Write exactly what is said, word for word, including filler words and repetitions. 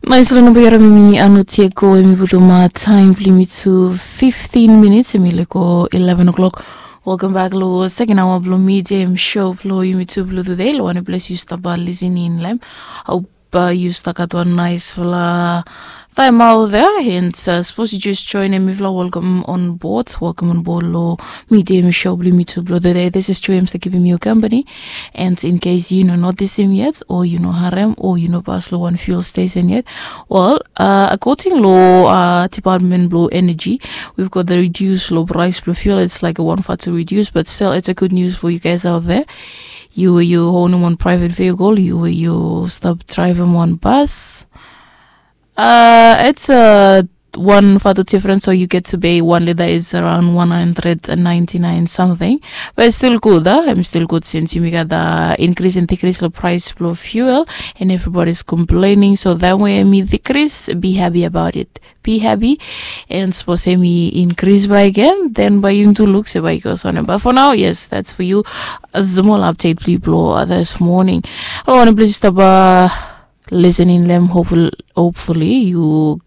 Nais lo namba yara mimi ano tieko emi butu ma taim blo yumi tu fifteen minutes emi leko eleven o'clock. Welcome back lo second hour blo medium show blo yumi tu blo today lo wane ples yu staba listening lem. Hope uh, yu staka wan nais fla time out there and uh, suppose you just join em ifla welcome on board, welcome on board lo medium show blo yumi tu blo today. This is Joy, I'm still keeping you company. And in case you know notice him yet, or you know harem, or you know pas lo one fuel station yet, well, uh, according lo uh, department blo energy, we've got the reduce lo price blo fuel. It's like a one factor reduce, but still it's a good news for you guys out there. You you own one private vehicle, you you stop driving one bus. Uh, it's a one for the difference, so you get to pay one liter is around one hundred and ninety nine something. But it's still good, huh? I'm still good since you got the increase and decrease the price of fuel, and everybody's complaining. So that way, me decrease, be happy about it. Be happy, and suppose me increase by again, then by you to look say by goes on. But for now, yes, that's for you. A small update, people, this morning. I want to please stop uh, listening them. Hopefully, hopefully you